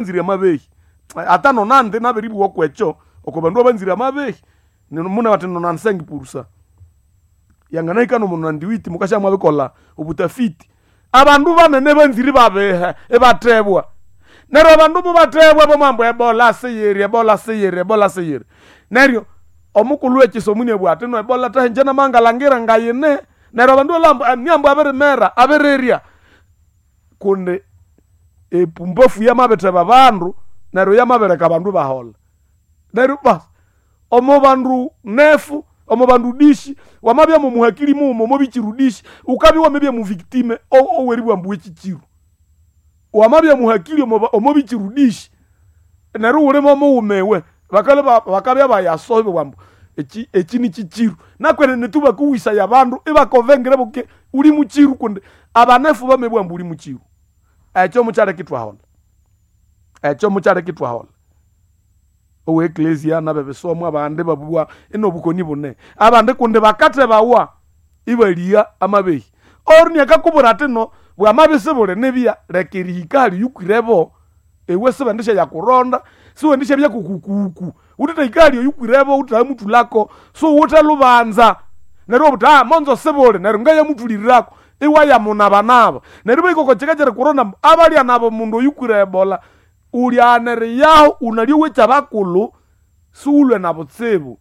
Abanzire amabehi ata nonandi nabiribuwa kwekyo oko bandu abanzire amabehi muna bati 95% yanganahika nomo 98 mukasha mwabikola obutafiti. Abandu banene banzire babihe ibatebwa. Neryo abandu mubatebwa bamwambu ebola siyiri, ebola siyiri, ebola siyiri. Neryo omukulhu w'ekisomo iniabugha ati no ebola tahinje namangalangira ngayine. Neryo abandu balhambu niambu abirimera, abirirya. Kundi epumbafu yamabitheba abandu neryo yamabireka abandu ibaholha. Neryo basi omo bandu nefu, omo bandu dishi, wamabya momuhakili mughuma omo bichiru dishi, wukabya wamabya muvictime oweribugha ambu wechichiru. Wamabya muhakili omo bichiru dishi, neryo iwuli momughuma iwe, bakalha bakabya bayaso ibabugha ambu eki eki nichichiru. Nakwenene tu bakuwisaya abandu ibakovengera buke uli muchiru kundi abanefu bamabugha ambu uli muchiru. Ekyo mukyaleka ithwaholha. Ekyo mukyaleka ithwaholha. Owe eklesia nabebisomo abandi ibabugha inobukoni bune. Abandi kundi bakathebawa ibaligha amabehi. Oyurini akakubwira athi no bwamabya isibuli nibya leka erihika hali oyukwirebo iwe sibendisyayakuronda, siwendisyabya kukukuku. Wuthithahika hali oyukwirebo wuthamuthulako, siwuwithe lubanza. Neryo iwabugha wuthi monzo sibuli neryo ngayamuthulirako iwayamunabanaba. Neryo ibahika oko kika kyerikuronda ambu abalyanaba omundu oyukwire ebola ulyaghana eriyahu wunalya owekyabakulhu siwulhwe nabutsibu.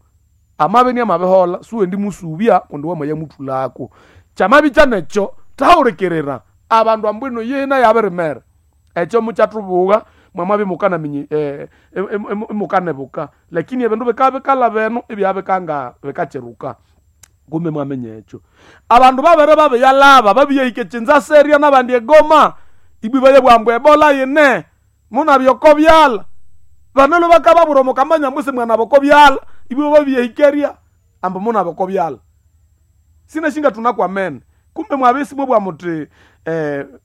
Amabya inamabiholha siwendimusubya kundi wamayamuthulako. Kyamabya nekyo thahulikirira abandu ambu ino yina yabirimera. Ekyo mukyathubugha mwamabya imukanaminya imukanibuka lakini ebindu bikabya bikalhaba eno ibyabikanga bikakyiruka. Kumbe mwaminya ekyo. Abandu babere babiyalhaba babiyahika ekyinza seria nabandi egoma, ibwa ibayabugha ambu ebola yine, munabya oko byalha. Banalwe bakababwira omo kamanya ambu isimwanaba oko byalha, ibwa babiyahikeria ambu munaba oko byalha. Sinasi ngatunakwamene. Kumbe mwabya isimwabugha muthi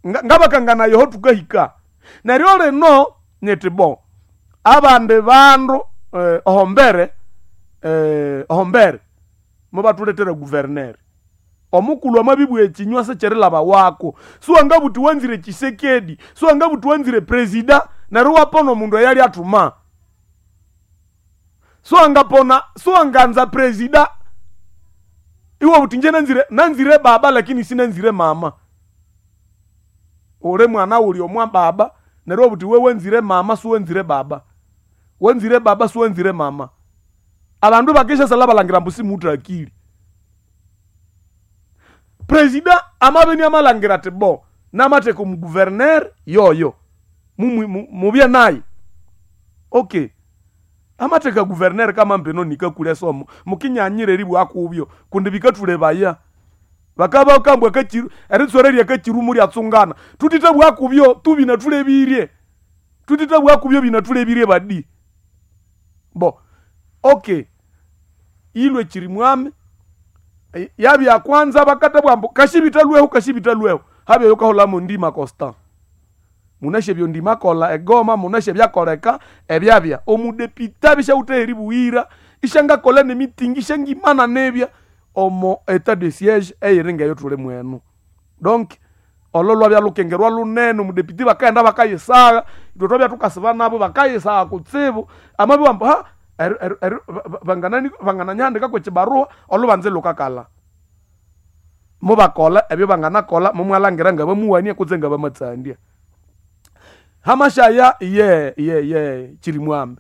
ngabakanganaya aho thukahika. Neryo lino nyithi bo, abandi bandu ohombere ohombere mubathulethera guverner. Omukulhu amabibugha ekinywa sikyirilhabawako. Siwangabugha wuthi wanzire Tshisekedi, siwangabugha wuthi wanzire presida neryo iwapona omundu eyalyathuma. Siwangapona siwanganza presida iwabugha wuthi ingye nanzire nanzire baba lakini sinanzire mama. Uli mwana wuli omwa baba neryo iwabugha wuthi iwe wanzire mama siwanzire baba. Wanzire baba siwanzire mama. Abandu ibakisyasalha balhangira ambu simuwithe akili. Presida amabya iniamalhangira athi bo namatheka omuguverner yoyo mubye naye. Okay, amatheka guverner kamamba eno nikakulha esomo, mukinyanyira eribugha kubyo kundi bikathulebaya. Bakabya bakambwa akakiru eritswera lyakakiru mulyatsungana, thuthithabugha kubyo tu binathulebirye. Thuthithabugha kubyo binathulebirye badi. Bo okay, ilwe kyirimwami yabya kwanza bakathabugha ambu kashibitha lwehu kashibitha lwehu, habya oyukaholha ndima Constant. Munasi ebyo ndima akolha egoma, munasi ebyakoleka ebyabya. Omudepite abya isyawithe aheribughira, isyangakolha nemitingi isyangimana nibya omo etat de siege eyiri ngeyo thuli mwenu. Donc olo lwabya lukengerwa lunene omudepite bakaghenda bakayisagha, ithwe thwabya thukasiba nabo bakayisagha kutsibu, amabibugha ambu bangananyihandika kwekyibaruha olhubanza ilhukakalha. Mubakolha ebyo banganakolha mumwalhangira ngabamuwania kutse ngabamatsandya. Hamashaya ye ye ye Kyirimwami.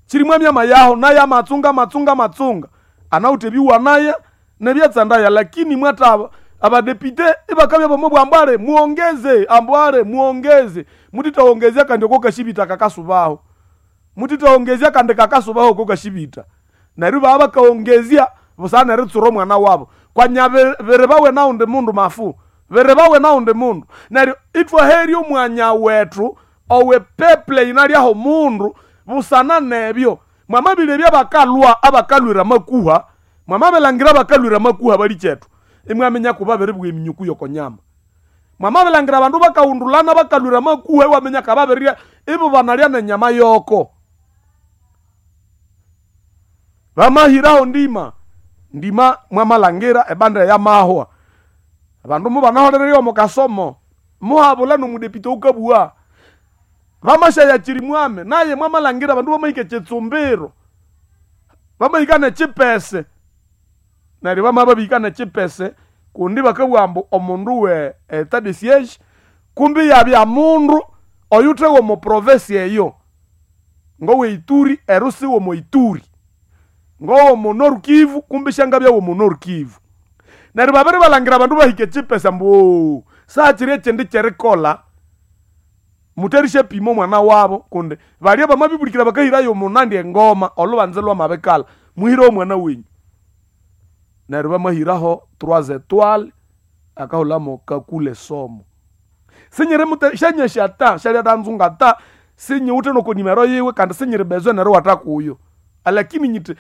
Kyirimwami amayaho naye amatsunga amatsunga amatsunga. Anawithe ebiwanaya nebyatsandaya lakini mwatha abadepite ibakabya bamabugha ambu ale muongeze ambu ale muongeze. Muthithawongezya kandi oko kashibitha kakasubaho. Muthithawongezya kandi kakasubaho oko kashibitha. Neryo ibabya bakawongezya busana neritsura omwana wabo. Kwanya biribawe nawundi mundu mafu, biribawe nawundi mundu. Neryo ithwaherya omwanya wethu owe peple yinalyaho omundu busana nebyo. Mwamabilebya abakalhwa abakalhwira amakuha, mwamabilhangira abakalhwira amakuha balikyethu, imwaminya kubabiribugha eminyuku yokonyama. Mwamabilhangira abandu bakahundulana bakalhwira amakuha iwaminya kababirirya ibo banalya nenyama yoko. Bamahiraho ndima, ndima mwamalhangira ebanda eyamahwa. Abandu mubanaholererye omo kasomo, muhabula nomudepite owukabugha. Vamashaya chirimwame naye mwamalangira abandu bamahika chitsumbiro, bamahika n'echipese, neryo bamababihika n'echipese kundi bakabugha ambu omundu we etat de siege kumbi yabya mundu oyuthe w'omo province eyo, ngowe Ituri ero si w'omo Ituri, ngowomo Nord Kivu kumbi syangabya w'omo Nord Kivu. Neryo babiri balangira abandu bahika echipese ambu ooo, sakiri ekindi ky'erikolha muterishyapima omwana wabo kundi balya bamabibulikira bakahirayo omunandi engoma olhubanza lwamabikalha, muhire omwana wenyu. Neryo bamahiraho trois étoiles akahulamo kakule somo. Sinyiri syanyasi ata syalyatanzunga ata sinyiwithe noko nimero yiwe kandi sinyiri besoin neriwatha kuyo. Alakini nyithi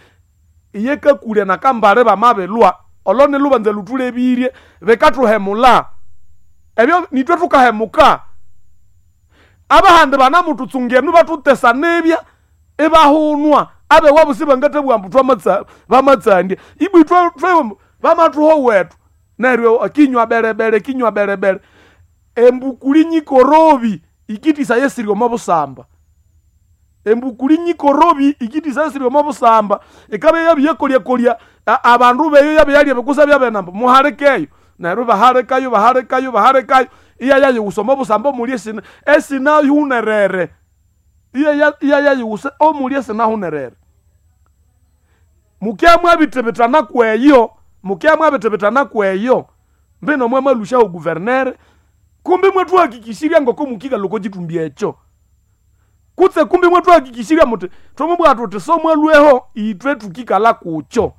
iye kakulya nakambali bamabilhwa olo nilhubanza lhuthulebirye bikathuhemula. Ebyo nithwe thukahemuka. Abahandi banamuthutsungenu ibathutesa nibya ibahunwa abewabo sibangathabugha ambu bamatsandya. Ibwa ithwe bamathuha owethu neryo kinywa berebere kinywa berebere. Embukuli nyikorobi ikitisa esiri omo busamba. Embukuli nyikorobi ikitisa esiri omo busamba. Ikabya yabyakolyakolya abandu beyo yabyalya ebikusa byabenamba muhalikeyo. Neryo bahalikayo bahalikayo bahalikayo iyayayighusa omo busamba omuli esinahunerere. Iyayayighusa omuli esinahunerere. Mukya mwabithibithana kweyo, mukya mwabithibithana kweyo, mbino mwamalushaho guvernere, kumbi mwathuhakikishirya ngoko mukikalha oko kithumbi ekyo. Kutse kumbi mwathuhakikishirya muthi thwamabugha thuthi somwalhweho ithwe thukikalha kukyo.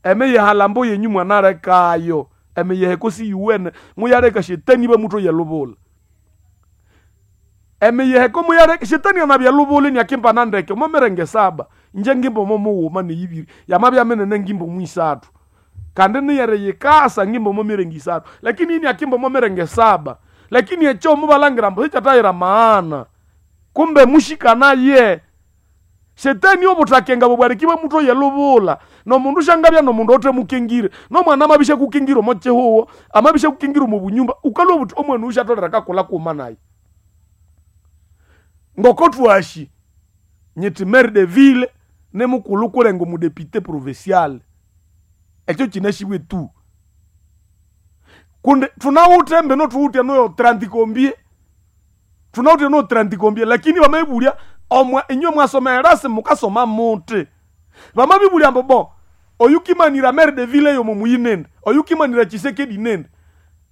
Emiyihalambo yenyu mwanalekayo, emiyiheko siyuwene muyaleka shetani ibamuthoya elubula. Emiyiheko muyaleka shetani anabya elubula iniakimbana ndeke omo mirenge saba, ingye ngimba omo mughuma neyibiri, yamabya minene ngimba omo isathu. Kandi niyeriyikasa ngimba omo mirenge isathu, lakini iniakimba omo mirenge saba. Lakini ekyo mubalangira ambu sikyathayira maana. Kumbe mushikanaye. Shetani obuthakenga bubwariki bamuthoya elubula. Nomundu syangabya nomundu othemukingire. Nomwana amabishakukingira omo kihugho, amabishakukingira omo bunyumba, ukalhwa obuthi omwana oyu syatholere akakolha kughuma nayi. Ngoko thwasi, nyithi maire de ville nimukulhu kulenga omudepite provincial. Ekyo kyinasibwe tu. Kundi thunawithe mbino thuwithe noyo 30 combien, thunawithe noyo 30 combien lakini bamabibulya omwa inywe mwasoma erasi mukasoma muthi. Bamabibulya ambu bo oyukimanira maire de ville yomo muyi nindi, oyukimanira Tshisekedi nindi.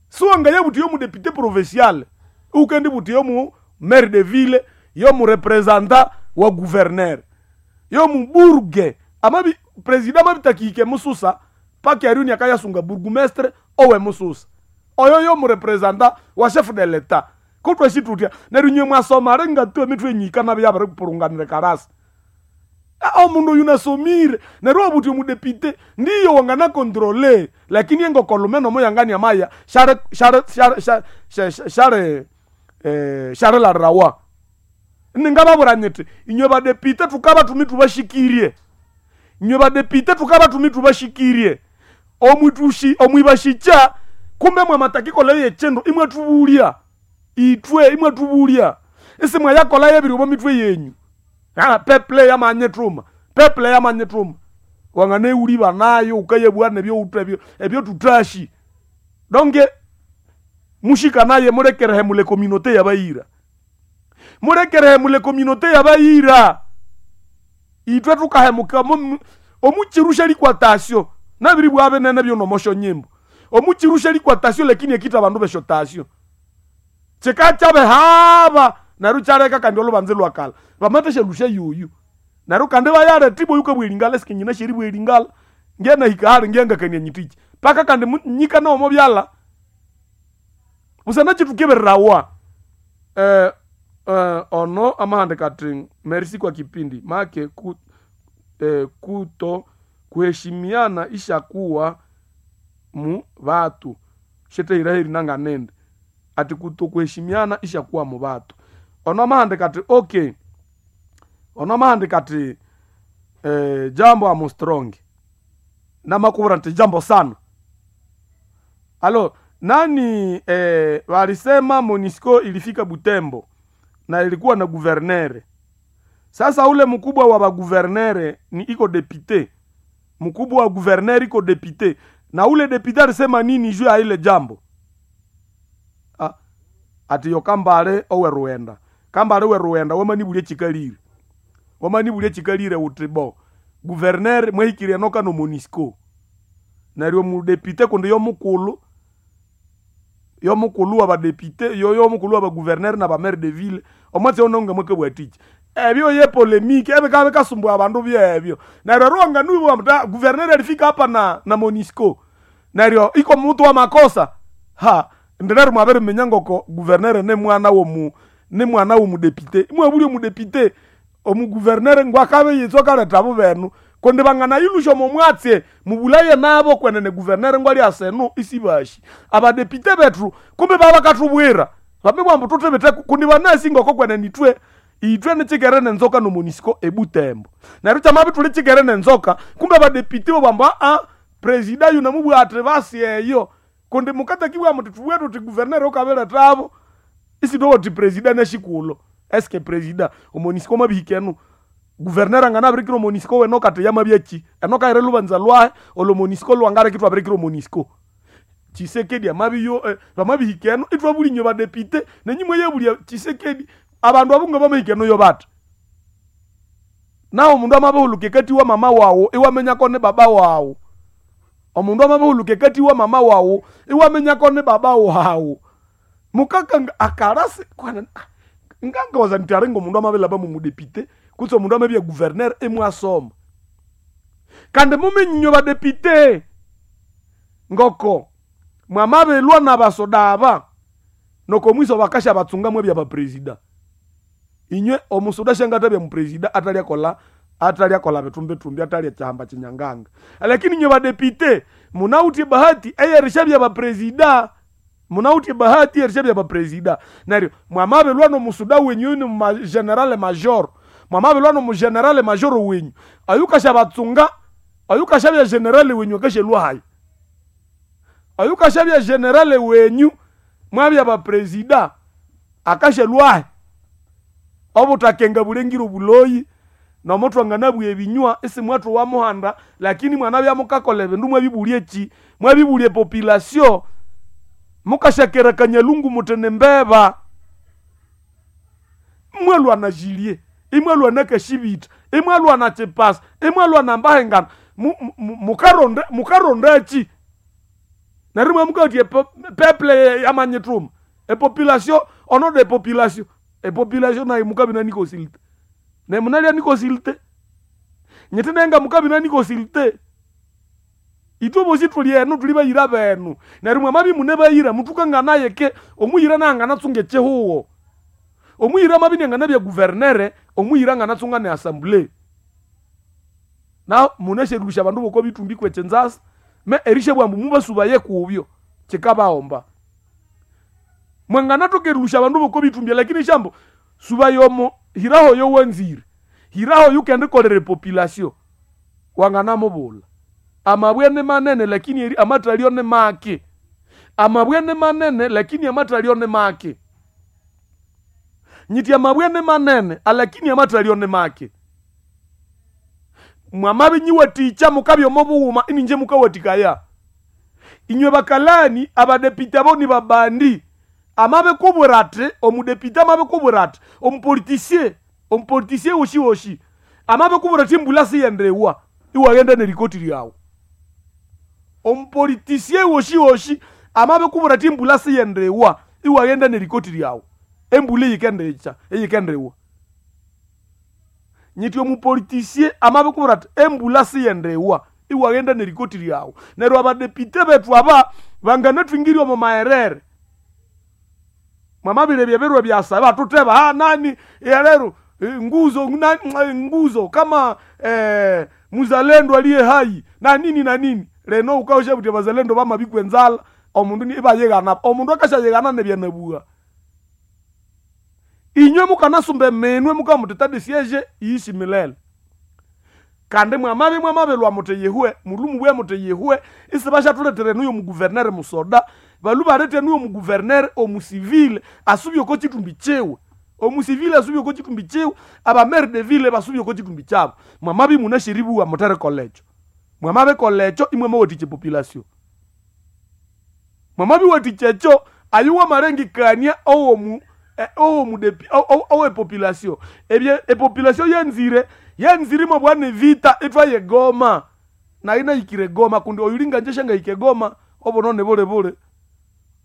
Siwangayabuthi yomudepite provincial, iwukendibuthi yomu maire de ville, yomurepresentant wa gouverneur, yomuburge. Amabi president amabitakihika emususa paka eryo iniakayasunga burgomestre owe mususa. Oyo yomurepresentant wa chef de l'etat. Kutwasi thuthya neryo inywe mwasoma ringathu emithwe yenyu yikanabya yabiripurunganira ekarasa. Omundu oyu nasomire neryo iwabuthi omudepite ndiyo wanganacontrole lakini engokolume nomo yanganiamaya syarilalirawa. Ningababwira nyithi inywe badepite thukabathuma ithubashikirye. Inywe badepite thukabathuma ithubashikirye. Omwibashikya kumbe mwamatakikolha yekyindu imwathubulya. Ithwe imwathubulya. Isimwayakolha ebiri omo mithwe yenyu. Peuple yamanyithuma, peuple yamanyithuma. Wanganayighuliba nayo wukayabugha nebyowuthe ebyo ebyothutasi. Donc mushikanaye mulekerehemula ecommunauté yabayira. Mulekerehemula ecommunauté yabayira. Ithwe thukahemuka omukiru syalikwattasyo nabiribugha binene byonomo syonyimbo. Omukiru syalikwattasyo lakini ekitha abandu besyottasyo. Kikakyabihaba neryo ikyaleka kandi olhubanza ilwakalha. Bamathasyalusya yoyu. Neryo kandi ibayaletha ibwa oyukabugha eringala sikinyinasi eribugha eringala. Ngenahika hali ngengakania nyithiki. Paka kandi nyikana omo byalha. Busana kyithukebererawa. Ono amahandika athi merci kwa kipindi make kuto kuheshimiana ishakuwa mu batu. Syethahirahiri nanganindi. Athi kuto kuheshimiana ishakuwa mu batu. Ono amahandika athi okay. Ono amahandika athi jambo amo strong. Namakubwira nthi jambo sana. Alo Nani walisema MONUSCO ilifika Butembo na ilikuwa na gouverneur. Sasa ule mkubwa wa bagouverneur ni iko député, mkubwa wa gouverneur iko député, na ule député alisema nini juu ya ile jambo? Ah, ati yo Kambale owe Ruenda, Kambale owe Ruenda wamanibulie chikalire, wamanibulie chikalire uti bo gouverneur mwehikire noka no MONUSCO neryo mudéputé kundi yo mukulu, yo mukulu wa badéputé, yo mukulu wa bagouverneur na bamaire de ville omwatsi ononga mwekabwatiki ebyo ye polémique ebikaba bikasumbua abandu byebyo. Neryo ruwanga nubo mta gouverneur alifika hapa na MONUSCO neryo iko mutu wa makosa ha ndinero mwabere minyangoko gouverneur ne mwana womu, ne mwana wo mudéputé, mwabuli mudéputé omu gouverneur ngwakabe yitso kaleta bubenu kundi bangana ilusho momwatse mubulaye nabo kwenene gouverneur ngwali aseno isibashi abadéputé bethu kumbe baba katubwira bambe tutebete kundi banasi ngoko kwenene itwe itwe nichikere nenzoka no MONUSCO ebutembo neryo kyamabi tuli chikere nenzoka kumbe abadéputé bobamba a presida yuno mubwate basi eyo kundi mukatakiwa muti tubwe tuti gouverneur okabeletabo isitowoti presida neshikulo eske presida oMONUSCO mabihikenu gouverneur angana abirikira oMONUSCO weno kati yamabyeki eno kaire lubanza lwahe olo MONUSCO lwangare kitwa abirikira oMONUSCO Tshisekedi amabiyo bamabihikeno itwabulinyo badéputé nenyimwe yebulia Tshisekedi abandu abunga bamahikeno yo bata nawo omundu amabihuluka ekati wa mama wawo iwamenyako ne baba wawo omundu amabihuluka ekati wa mama wawo iwamenyako ne baba wawo mukaka akarasi kwana ngangawaza nti aringa omundu amabelaba mumudéputé kutse omundu amabya gouverneur emwasoma kandi muminyinyo badéputé ngoko mwamabelwa na basoda aba noko mwiso bakasha batsunga mwebya bapresida inywe omusoda shangata bya mupresida atalyakola atalyakola bitumbitumbi atalya chihamba chinyanganga lakini inywe badéputé munautie bahati eyerisha bya bapresida munautie bahati erisha bya bapresida neryo mwamabelwa nomusuda wenyu ni ma general major mwamabelwa nomu general major wenyu ayukasha batsunga ayukasha bya general wenyu akashelwa hayi ayukasha bya general wenyu mwabya bapresida akashelwahe obutakenga bulengire obuloyi nomuthu anganabwa ebinywa isi mwathu wa muhanda lakini mwanabya mukakola ebindu mwabibulya eki mwabibulya epopulation mukashakera kanyalungu mutene mbeba mwalwa na jilie imwalwa na kashibita imwalwa na chipasa imwalwa na mbahengana mukaronda mukaronda eki neryo mwamukati peuple yamanyithuma epopulation ono de population epopulation nayo mukabina nikosilite nemunalya nikosilite nyiti nenga mukabina nikosilite itwe bosi tuli eno tuli bayira benu neryo mwamabi mune bayira mutukanganaye ke omuyira nanganatsunga echihuwo omuyira mabi nyanganabya guvernere omuyira nganatsunga ne assemblée na munesherulusha abandu boko bitumbi kwechenzasa me erishe bwambu mubasubaye kubyo chikabaomba mwanganatokerulusha abandu boko bitumbya lakini shambo subayomo hiraho yo wenzire hiraho yukendikolere population wanganamubula amabwe ni manene lakini amatalio ni make amabwe ni manene lakini amatalio ni make nyiti amabwe ni manene alakini amatalio ni make mwamabi nyiwaticha mukabya omubughuma ininje mukawatikaya inywe bakalani abadepite abo ni babandi amabikubwira ati omudepite amabikubwira ati omupolitisie omupolitisie woshi woshi amabikubwira ati embula siyendewa iwaghenda nerikoti lyawu omupolitisie woshi woshi amabikubwira ati embula siyendewa iwaghenda nerikoti lyawu embula eyikendicha eyikendiwa nyiti omupolitisie amabikubwira ati embula siyendewa iwaghenda nerikoti lyawu neryo abadepite bethu aba banganathwingirya omu maherere mwamabire byebirwe byasa batuteba ha nani yalero nguzo nani, nguzo kama muzalendo aliye hai na nini na nini leno ukausha kuti bazalendo bamabikwe nzala omundu ni ibayeghana omundu akashayeghana nebyanabugha inywe mukanasumba eminwe mukamuti tadi siege iishi milele kandi mwamabi mwamabelwa muti yihwe mulu mubwe muti yihwe isibashathuletera enuyo muguvernere musoda. Balu barete nuyo omugouverneur omusivile asubye oko kitumbi kiwe. Omusivile asubye oko kitumbi kiwe, abamaire de ville basubye oko kitumbi kyabo. Mwamabya imunasheribuwa mutherikolha ekyo. Mwamabikolha ekyo imwe mwawathikya epopulation. Mwamabya iwathikya ekyo, ayo wamalengekania owomu owomudepi owepopulation. Ebye epopulation yanzire, yanzire imwabugha nevita ithwaye Goma. Nayi nahikire Goma kundi oyuli nganje syangahika egoma obunone bulibuli.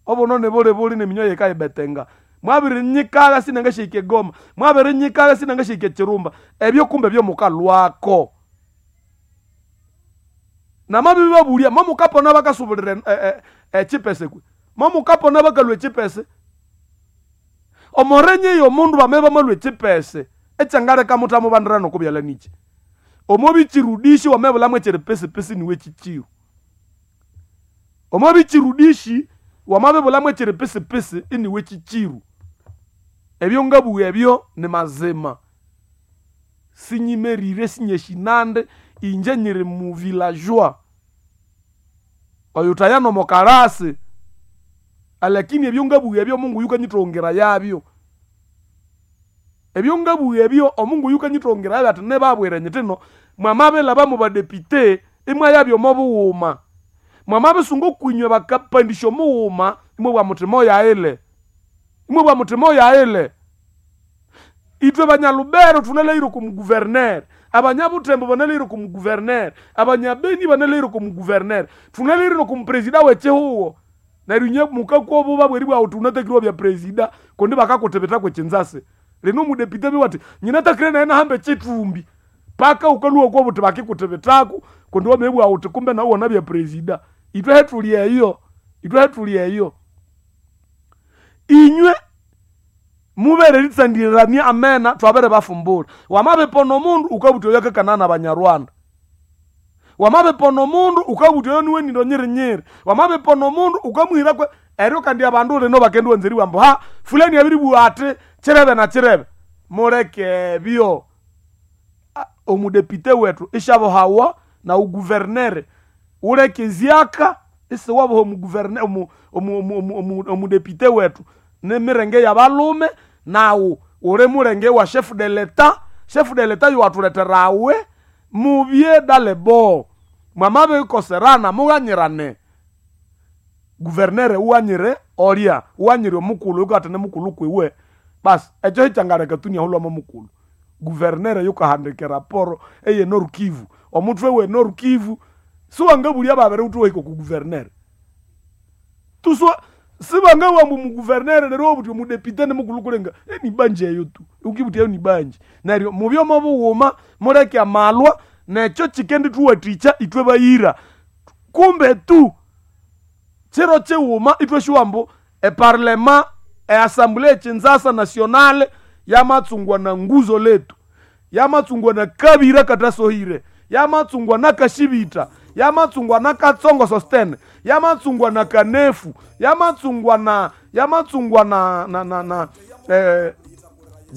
Obunone bulibuli neminywa yikayibetenga. Mwabirinyikagha sinangasyahika egoma, mwabirinyikagha sinangasyahika ekirumba. Ebyo kumbe byomukalhwako. Namabibabulya momukapona bakasubulira echipese kwe. Momukapona bakalhwa echipese. Omurenye y'omundu bamabya bamalhwa echipese, ekyangaleka muthamubandira nokubyalha niki? Omobichirudishi wamabulhamu ekyiripisipisi niwe kyikiru. Omobichirudishi wamabibulhamu ekyiripisipisi iniwe kyikiru. Ebyo ngabugha ebyo ni mazima. Sinyimerire sinyeshinande inje nyiri mu villageois. Oyuthaya nomokalasi. Alakini ebyo ngabugha ebyo Mungu yukanyithongera yabyo. Ebyo ngabugha ebyo omungu yukanyithongera yabyo athi nibabwire nyithino mwamabilhaba mubadepite imwayabya omo bughuma. Mwamabisunga okwinywe bakapandisya omughuma imwabugha muthi moyaghile. Imwabugha muthi moyaghile. Ithwe banyalubero thunalhaghire oko mugouverneur, abanyabuthembo banalhaghire oko mugouverneur, abanyabeni banalhaghire oko mugouverneur, thunalhaghire noko mupresida w'ekihugho. Neryo inye mukakwa obuba bweribugha wuthi wunatakire iwabya presida kundi bakakuthibitha kw'ekinzasi. Lino omudepite amabugha athi nyinatakire nayi nahamba ekithumbi paka wukalhwa okwabuthi bakikuthibithako kundi wamabugha wuthi kumbe nawu wanabya presida. Ithwe hethuli eyo, ithwe hethuli eyo. Inywe mubere eritsandirirania amena thwabiribafumbura. Wamabipona omundu wukabuthi oyo akakana nabanyarwanda. Wamabipona omundu wukabuthi oyo niwe nindo nyirinyiri. Wamabipona omundu wukamuhira kwe eryo kandi abandu lino bakendiwanza eribugha ambu ha fulani abiribugha athi kirebe na kirebe. Muleke ebyo. Omudepite wethu isyabuhawa na ugouverneur wuleke ezyaka isiwabuha omugouverneur omudepite wethu nimirenge y'abalhume nawu wuli mulenge wa chef de l'etat. Chef de l'etat yowathulethera awe mubye dalebo. Mwamabikoserana mughanyirane. Gouverneur wughanyire olya, wughanyire omukulhu oyukathana mukulhu kwiwe. Basi ekyo hikyangaleka tu inahulhwamo mukulhu. Gouverneur yukahandika eraporo eye Nord Kivu. Omuthwe we Nord Kivu siwangabulya babiri wuthi wahika oku gouverneur. Tuswa sibangabugha ambu omugouverneur neryo iwabugha wuthi omudepite nimukulhu kulenga enibanja eyo tu. Wukibugha wuthi eyo nibanja. Neryo mubye omo bughuma muleke amalwa nekyo kyikendithuwathikya ithwe bayira. Kumbe tu kiro kighuma ithwasyuwa ambu eparlema eassembly ekinzasa nationale yamatsungwa na nguzo letu. Yamatsungwa na kabira katasohire. Yamatsungwa na kashibita. Yamatsungwa na katsongo sostene. Yamatsungwa na kanefu. Yamatsungwa na yamatsungwa na na na, na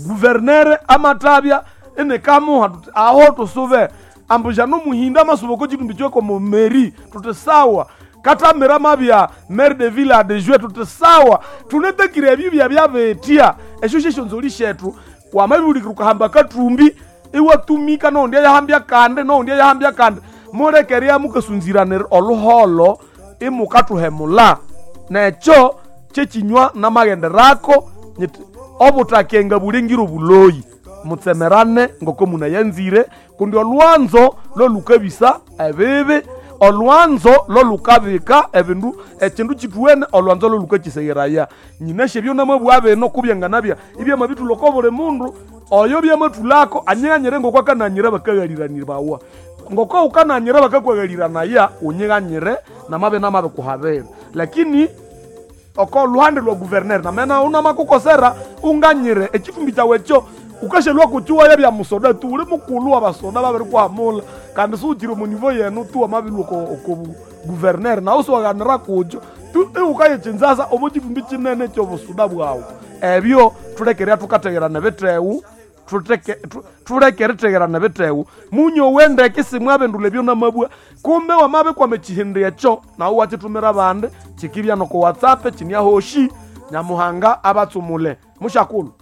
gouverneur amatabya enekamuha tuti aho tusube ambu jano muhinda amasuba oko kitumbi kyoko mu mairie tuti sawa katamira mabya maire de ville adjoint tuti sawa tunetakire ebyo byabyabetya esyo syesyonzoli syethu wamabibulikira ukahamba kathumbi iwatumika nohundi eyahambya kandi nohundi eyahambya kandi mulekerya mukasunziranira oluholo imukathuhemula nekyo kyekinywa namaghenderako nyithi obuthakenga bulengire obuloyi mutsemerane ngoko munayanzire kundi olwanzo lolukabisa ebibi olwanzo lolukabika ebindu ekindu kithuwene olwanzo lolukakyisegheraya. Nyinasya ebyo namabugha bino kubyanganabya ibyamabithulha oko buli mundu oyo byamathulhako anyighanyire ngoko akananyira bakaghaliranirawa. Ngoko wukananyira bakakwaghaliranaaya wunyighanyire namabya namabikuhabira. Lakini oko luhande lwa gouverneur namena unamakukosera unganyire ekithumbi kyawu ekyo wukasyalhwa kukiwaya bya musoda tu wuli mukulhu wabasoda babirikuhamulha kandi siwukyiri omo nivo yenu tu wamabilhwa oko gouverneur nawu siwaghanira kukyo tu iwukaya ekinzasa omo kithumbi kinene ekyobusuda bwawu. Ebyo thulekerya thukategherana ebithewu. Thuleke eritegerana ebitego. Munyowe ndeke simwabindula ebyo namabwa. Kumbe wamabikwama ekihindi ekyo nawe wakitumira abandi, kikibya noko WhatsApp kiniahoshi. Nyamuhanga abatsumule. Mushakulu.